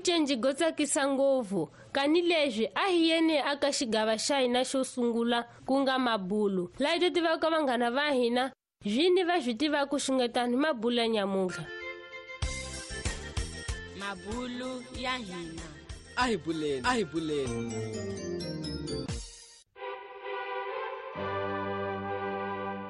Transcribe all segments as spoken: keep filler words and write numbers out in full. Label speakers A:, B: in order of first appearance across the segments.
A: vucenji go tsakisa ngopfu kani leswi a hi yeni aka xigava xa hina xo sungula ku nga mabulu laha hi to tivaka vanghana va hina zvini va swi tivaka xungetani mabulu ya nyamuntlha.
B: Mabulu ya hina
C: a hi buleni, a hi buleni.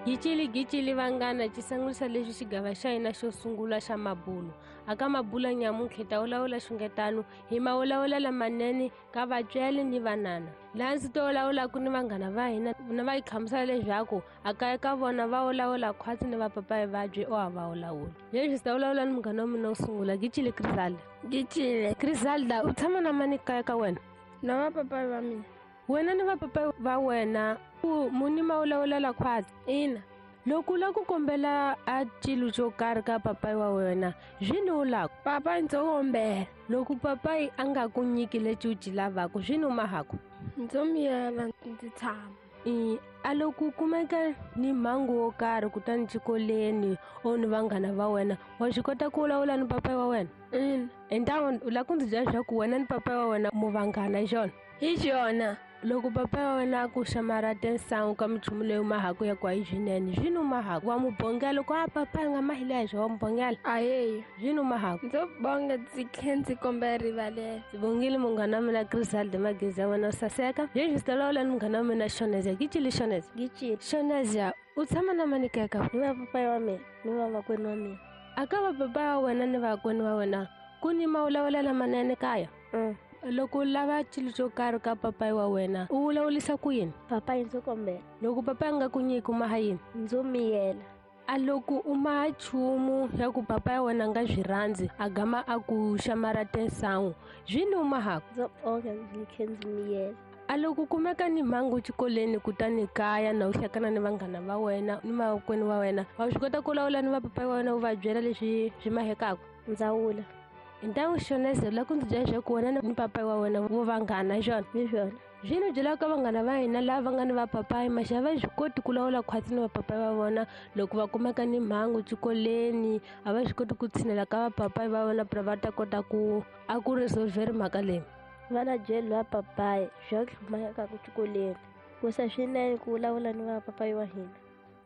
A: Gicili gicili vanghana xisangulisa leswi xigava xa hina xo sungula xa mabulu. Aka mabulu ya nyamuntlha hi ta vulavula xungetano hi mawulawula lamanene ka vatswari ni vanana. Laha ndzi to vulavulaka ni vanghana va hina na va hi hlamusela leswaku a kaya ka vona va vulavula khwatsi ni vapapayi vabyi o a va vulavula. Leswi ndzi ta vulavula ni munghana wa mina wo sungula Gicili Griselda.
D: Gicile.
A: Griselda, u tshama na mani kaya ka wena?
D: Na vapapayi va mina.
A: Wena ni vapapayi va wena ku muni ma vulavula khwatsi?
D: Ina.
A: Loko u lava ku kombela a cilo xo karhi ka papayi wa wena swi ni u lava?
D: Papayi ndzo kombela.
A: Loko papayi a nga ku nyiki lexi u xi lavaka swi ni u mahaku?
D: Ndzo miyela ndzi tshama.
A: I a loko u kumeka ni mhangu wo karhi kutani xikolweni o ni vanghana va wena wa swi kota ku vulavula ni papayi wa wena?
D: Ina.
A: Entan'wini u lava ku ndzi byela leswaku wena ni papayi wa wena mu vanghana hi xona?
D: Hi xona.
A: Loko papayi wa wena a ku xamarata nsangu ka minchumu leyi u mahaku ya ku a yi swinene swi ni u mahaku wa mu bongela loko a papayi nga mahile ya hi wa mu bongela?
D: Aheyi.
A: Swi ni u mahaku?
D: Ndzo bonga ndzi tlhe ndzi kombela rivalelo.
A: Ndzi bongile munghana wa mina Griselda Magezi ya wena u saseka. Leswi ndzi ta vulavula ni munghana wa mina Shonezia. Gicile Shonezia.
E: Gicile.
A: Shonezia, u tshama na mani kaya ka?
E: Ni vapapayi wa mina ni vamakwenu wa mina.
A: A ka vapapayi wa wena ni vakwenu wa wena ku ni mawulawula lamanene kaya?
E: Mm.
A: Loko u lava xilo xo karhi ka papayi wa wena u vulavulisa ku yini?
E: Papayi ndzo kombela.
A: Loko papayi a nga ku nyiki u maha yini?
E: Ndzo miyela.
A: A loko u maha nchumu ya ku papayi wa wena a nga swi rhandzi a gama a ku xamarata nsangu swi ni u mahaku?
E: Ndzo bonga ndzi tlhe ndzi miyela.
A: A loko kumeka ni mhangu xikolweni kutani kaya na u hlekana ni vanghana va wena ni makwenu wa wena wa swi kota ku vulavula ni vapapayi wa wena u va byela leswi swi mahekaka?
E: Ndzawula.
A: Ntangu Shoneza u lava ku ndzi byela leswaku wena ni papayi wa wena vo vanghana hi xona?
E: Hi swona.
A: Swi ni byelaka vanghana va hina lava va nga ni vapapayi maxa a va swi koti ku lawula khwatsi ni vapapayi va vona loko va kumeka ni mhangu xikolweni a va swi koti ku tshinela ka vapapayi va vona pra va ta kota ku a ku resolver mhaka leyi.
E: Va na byeli va papayi swa ku hlumayaka xikolweni ku sa swinene ku vulavula ni vapapayi wa hina.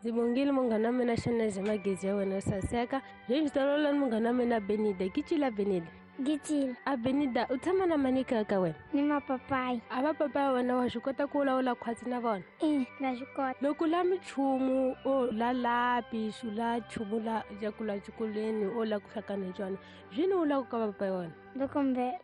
A: Ndzi bongile munghana wa mina Shoneza Magezi ya wena saseka. Leswi ndzi ta vulavula ni munghana wa mina Benida. Gicile Benida.
F: Gicile.
A: A Benida, u tshama na mani kaya ka wena?
F: Ni mapapayi.
A: A vapapayi wa wena wa swi kota ku vulavula khwatsi na vona?
F: Ina, na swi kota.
A: Loko u lava minchumu o la lapi u la nchumu la ya ku la xikolweni o la ku hlakana hi xona swi ni u lava ka vapapayi wa wena?
F: Ndzo kombela.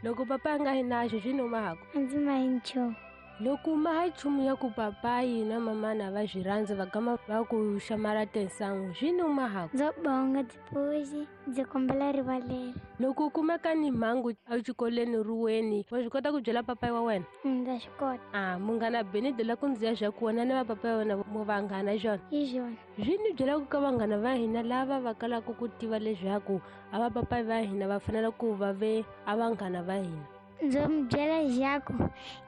A: Loko papayi a nga yi naxo swi ni u mahaku?
F: A ndzi mahi nchumu.
A: Loko u maha nchumu ya ku papayi na mamana va swi rhandzi va gama va ku xamarata nsangu swi ni u mahaku?
F: Ndzo bonga tipuzi ndzi kombela rivalelo.
A: Loko u kumeka ni mhangu exikolweni ruweni wa swi kota ku byela papayi wa wena?
F: Ndza swi kota.
A: A munghana Benida la ku ndzi ya swa ku wena ni vapapayi wa wena mo vanghana hi xona?
F: Hi xona.
A: Swi ni byelaka ka vanghana va hina lava va kalaka ku tiva leswaku a vapapayi va hina va fanele ku va ve a vanghana va hina.
F: Ndzo mi byela leswaku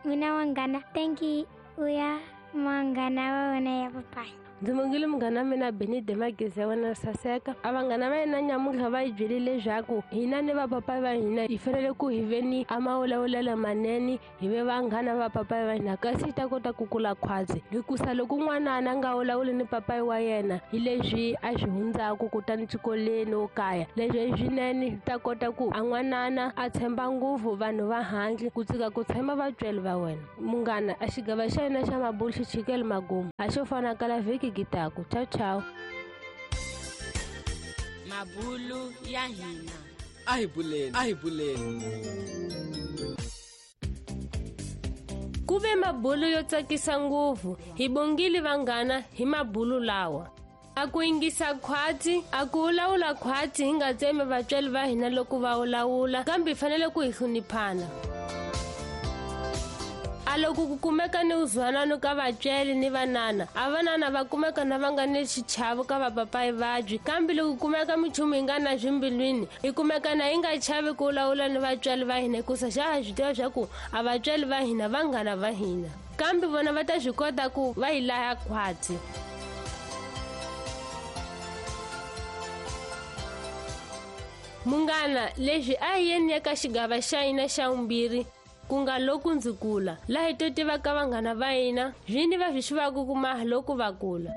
F: n'wina vanghana thank you u ya vanghana va wena ya papayi.
A: Ndzi mongile munghana wa mina Benide Magezi ya wena saseka. A vanghana va hina nyamuntlha va hi byelile leswaku hina ni vapapayi va hina hi fanele ku hi ve ni a mawulawulelo manene hi ve vanghana va papayi va hina kasi hi ta kota ku kula khwatsi. Hikusa loko n'wanana a nga vulavuli ni papayi wa yena hi leswi a swi hundzaku kutani xikolweni o kaya leswi i swinene hi ta kota ku a n'wanana a tshemba ngopfu vanhu va handle ku tshika ku tshemba vatswari va wena. Munghana a xigava xa hina xa mabulu xi chikele magumu a xo fana kala vhiki gitaku. Ciao ciao.
B: Mabulu ya hina
C: a hi buleni, a hi buleni.
A: Ku ve mabulu yo tsakisa ngopfu hi bongile vanghana hi mabulu lawa. A ku yingisa khwatsi a ku vulavula khwatsi hi nga tsemi vatswari va hina loko va vulavula kambe hi fanele ku hi hloniphana. A loko ku kumeka ni uzwanano ka vatswari ni vanana a vanana va kumeka na va nga ni xichavo ka vapapayi vabyi kambe loko ku kumeka minchumu yi nga na swimbilwini hi kumeka na yi nga chavi ku vulavula ni vatswari va hina hikusa xa ha swi tiva swa ku a vatswari va hina vanghana va hina kambe vona va ta swi kota ku va hi laya khwatsi. Munghana, leswi a hi yeni eka xigava xa hina xa vumbirhi, ku nga loko ndzi kula, laha hi to tivaka vanghana va hina vini va swi xivaka ku maha loko va kula.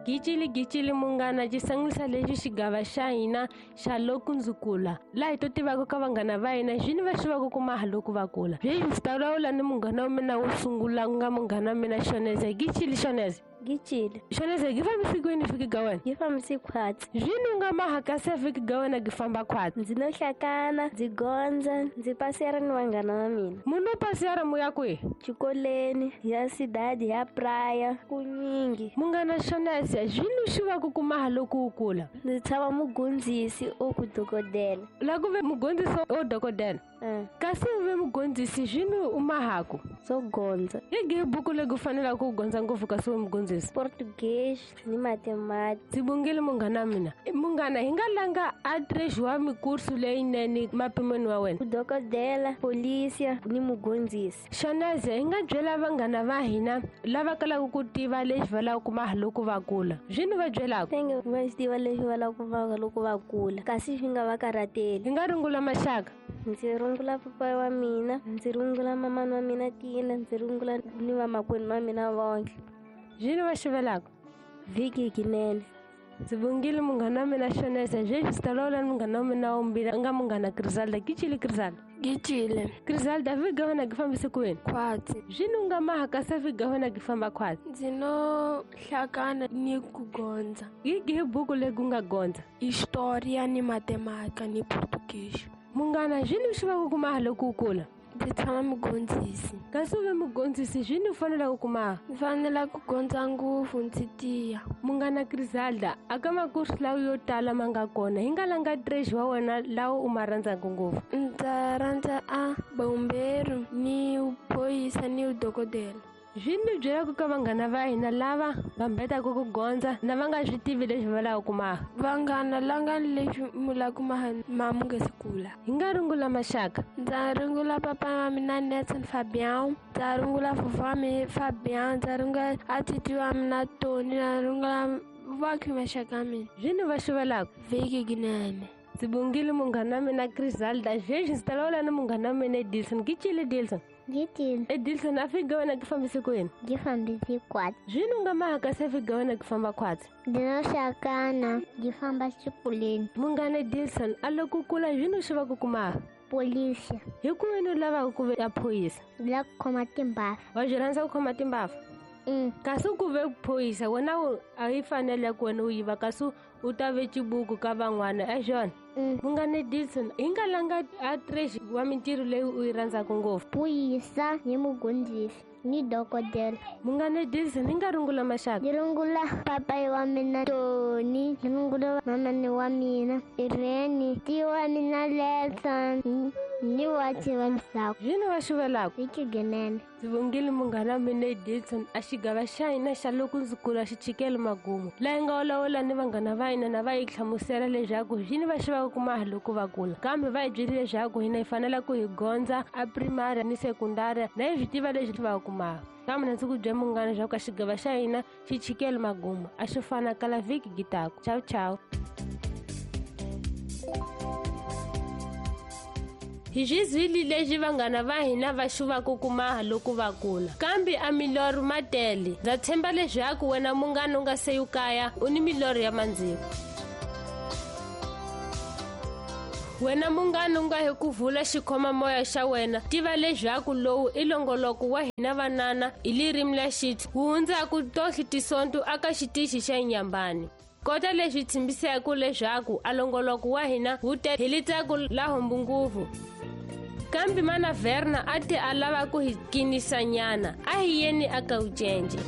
A: Gicili gicili munghana, xi sangulisa lexi xigava xa hina xa loko ndzi kula, laha hi to tivaka ka vanghana va hina vini va xivaka ku maha loko va kula. Sweswi ndzi ta vulavula ni munghana wa mina wo sungula, ku nga munghana wa mina Shoneza. Gicili Shoneza.
E: Gicili.
A: Shoneza, gi fambisi kwini vhiki ga wena?
E: Gi fambisi khwatsi.
A: Zwini u nga maha kasi vhiki ga wena gi famba khwatsi?
E: Ndzi no hlakana, ndzi gondza, ndzi pasera ni vanghana va mina.
A: Munhu u pasera mu ya kwihi?
E: Xikoleni, ya sidadi, ya praya, kunyingi.
A: Munghana Shoneza, zwini u xivaka ku maha loko u kula?
E: Ndzi tshava mugondzisi o ku dokodela.
A: La ku ve mugondzisi o dokodela?
E: Mm.
A: Kasi u ve mugondzisi zwini u mahaku?
E: Swo gondza.
A: Hi gihi buku leyi ku fanelaka ku gondza ngopfu kasi u ve mugondzisi?
E: Portuguese ni mathematics.
A: Ndzi bongile munghana wa mina. Munghana, hi nga langa a treasure wa mikursu leyinene mapimweni wa wena?
E: Dokodela, polisia ni mugondzisi.
A: Shoneza, hi nga byela vanghana va hina lava kalaka ku tiva leswi va lavaka ku maha loko va kula. Zwini va byelaka?
E: Tenge va swi tiva leswi va lavaka ku maha loko va kula, kasi swi nga va karhateli.
A: Hi nga rungula maxaka.
E: Ndzi rungula papa wa mina, ndzi rungula mamani wa mina Tina, ndzi rungula ni vamakwenu va mina vonke.
A: Zwini va xivelaka?
E: Vhiki kinene.
A: Ndzi vongile munghana wa mina Shoneza. Sweswi ndzi ta vulavula ni munghana wa mina wa vumbirhi, a nga munghana Griselda. Gicili Griselda.
D: Gicile.
A: Griselda, vhiki ga wena gi fambisi kwini?
D: Khwatsi.
A: Zwini u nga maha kasi vhiki ga wena gi famba khwatsi?
D: Ndzi no hlakana ni ku gondza.
A: Hi gihi buku leyi ku nga gondza?
D: Historia ni matematika ni Portuguese.
A: Munghana, zwini u xivaka ku maha loko u kula?
D: Ndzi tshama mugondzisi.
A: Kasi u ve mugondzisi, zwini u fanelaka ku maha?
D: Ndzi fanela ku gondza ngopfu ndzi tiya.
A: Munghana Griselda, aka makursu lawa yo tala ma nga kona, hi nga langa treasure wa wena lawa u ma rhandzaka ngopfu?
D: Ndza rhandza a bomberu ni phoyisa ni dokodela.
A: Zwini byelaka ka vanghana va hina lava va mbetaka ku gondza na va nga swi tivi leswi va lavaka ku maha?
D: Vanghana langani leswi mu lavaka ku maha ma mu nga si kula.
A: Hi nga rungula maxaka.
D: Ndza rungula papa wa mina Nelson Fabian, ndza rungula vovó wa mina Fabian, ndza rungula atiti wa mina Tony, ndza rungula vakhi maxaka ya mina.
A: Zwini va xivelaka?
D: Vhiki kinene.
A: Ndzi bongile munghana wa mina Griselda. Sweswi ndzi ta vulavula ni munghana wa mina Edilson. Gicile Edilson.
F: Gicile.
A: Edilson, a vhiki ga wena gi fambisi kwini?
F: Gi fambisi khwatsi.
A: Zwini u nga maha kasi a vhiki ga wena gi famba khwatsi?
F: Ndzi no hlakana, gi famba xikoleni.
A: Munghana Edilson, a loko u kula zwini u xivaka ku maha?
F: Polisia.
A: Hi ku wena u lavaka ku ve a phoyisa?
F: Ndzi lava ku khoma timbhafa.
A: Wa swi rhandza ku khoma timbhafa?
F: Mm.
A: Kasi ku ve phoyisa wena a yi fanele ku wena u yiva kasi u ta ve xibuku ka van'wana a swona?
F: Mm.
A: Munghana Edilson, hi nga langa a treasure wa mintirho leyi u yi rhandzaka ngopfu?
F: Phoyisa ni mugondzisi ni dokodela.
A: Munghana Edilson, hi nga rungula maxaka?
F: Ndzi rungula papayi wa mina Tony, ndzi rungula mamani wa mina Irene, ti wa mina Nelson ni wa tiva ndzhaku.
A: Zwini va xivelaka?
F: Vhiki ginene.
A: Ndzi vongile munghana wa mina Edilson. A xigava xa hina xa loko ndzi kula xi chikele magumu, laha hi nga vulavula ni vanghana va hina na va hi hlamusela leswaku zwini va xivaka ku maha loko va kula, kambe va hi byelile leswaku hina hi fanele ku hi gondza a primary ni sekundari na hi swi tiva leswi va ku maha. Kambe na ndzi ku byela munghana leswaku a xigava xa hina xi chikele magumu, a xi fana kala vhiki gitaku. Ciao ciao. Hi swi zwile leswi vanghana va hina va xuvaka ku maha loko va kula, kambe a milorho ma tele. Ndza tshemba leswaku wena munghana u nga se yu kaya u ni milorho ya mandziko. Wena munghana u nga hi ku vula xikhomamoya xa wena, tiva leswaku lowu i longoloko wa hina vanana hi lirimi la xithu wu hundzaku tohli tisonto aka xitichi xa Inyambani. Kota leswi tshembisaka leswaku a longoloko wa hina wu te hi litsako la hombu nguvu. Kambe mana Verna a te a lava ku hi kinisanyana, a hi yeni aka ucence.